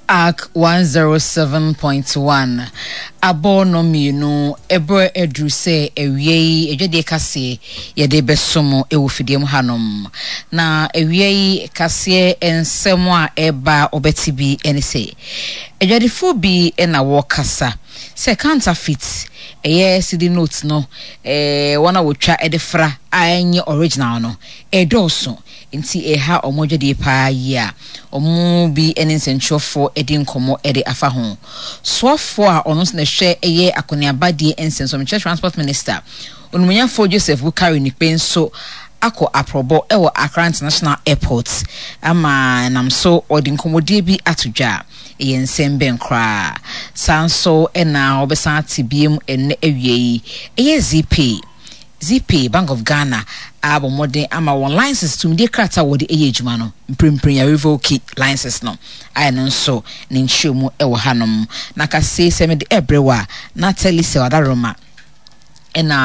Ark 107.1 abɔ nnɔnmienu, ɛberɛ aduru sɛ awia yi adwadie kaseɛ yɛde bɛso mo wɔ fidie mu hanom. Na awia yi kaseɛ nsɛm a ɛreba a wɔbɛte bi ne sɛ, adwadifoɔ bi na wɔrekasa sɛ counterfeit, ɛyɛ cedi note no, wɔn a wɔtwa de fra a ɛnyɛ original no, ɛredɔɔso. Nti ɛreha wɔn adwadie paa yie a wɔn mu bi ne nsɛntwerɛfoɔ di nkɔmmɔ de afa ho. Soafoɔ a ɔno nso na ɛhwɛ ɛyɛ akɔneabadie nsɛnso, mekyerɛ Transport Minister, Onimonyamfoɔ Joseph Wukari Nikpe nso akɔ aprɔbɔ wɔ Accra International Airport ama ɛnam so ɔde nkɔmmɔdie bi ato dwa. Ɛyɛ nsɛm bɛn koraa? Saa nso na wɔbɛsan ate biom ɛnnɛ awia yi, ɛyɛ Zeepay. Zeepay, Bank of Ghana abɔ mmɔden ama wɔn license, tumidie krataa a wɔde yɛ adwuma no, mprempren yɛarevoke license no, a ɛno nso ne nkyerɛmu wɔ hanom. Na kaseɛ yi sɛ mede ɛrebrɛ wo a, na Telecel Adaworoma na.